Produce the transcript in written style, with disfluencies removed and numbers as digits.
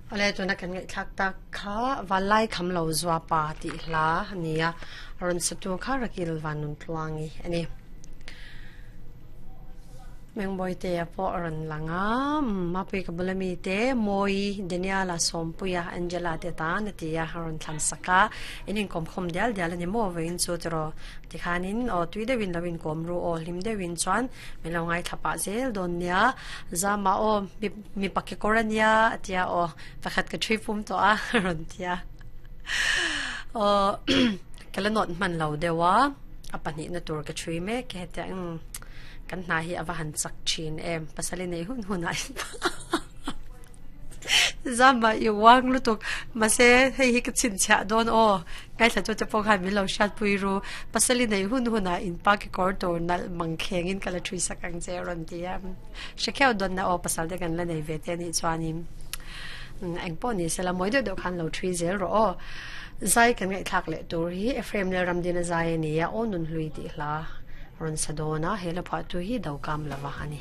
Awle tuna kan ngaihthlak tak kha Vanlai kham lo zua pa tih hla a ni a, a rawn satu kha Rakil Vanuntluangi a ni. Mengbawitea pawh a rawn lang a, Mapui ka bula mite Mawi, Daniela, Sawmpuia, Angela te tan a ti a, a rawn thlan sak a, in inkawmkhawm dial dial a ni maw vawiin chu tiraw tikhanin aw tui deuhin lo inkawm ru aw hlim deuhin chuan min lo ngaithla pah zel dawn nia, Zama aw mi mipa kekawr a nia a tia aw pakhat ka ṭhui pum tawh a a rawn tia aw ka la nawt hman lo deuh a a pahnihna tur ka ṭhui mek e hetiang umm kan hna hi a va han chak ṭhin em pasal i nei hun hun ah Zama i uang lutuk mahse hei hi ka chhinchhiah dawn aw ngaithla tu te pawh khan min lo hriatpui ru pasal i nei hun hun ah in pa kekawr tur nalh mang kheng in ka la ṭhui sak ang che a rawn ti a. Hre kheuh dawnna aw pasal te kan la nei ve te anih chuanin eng pawh ni sela mawi deuh deuh khan lo thui zel rawh aw. Zai kan ngaihthlak leh tur hi Ephraim Lalramdina zai a ni a, aw nun hlui tih hla rawn sa dawn a, he la phuahtu hi do kam lova a ni.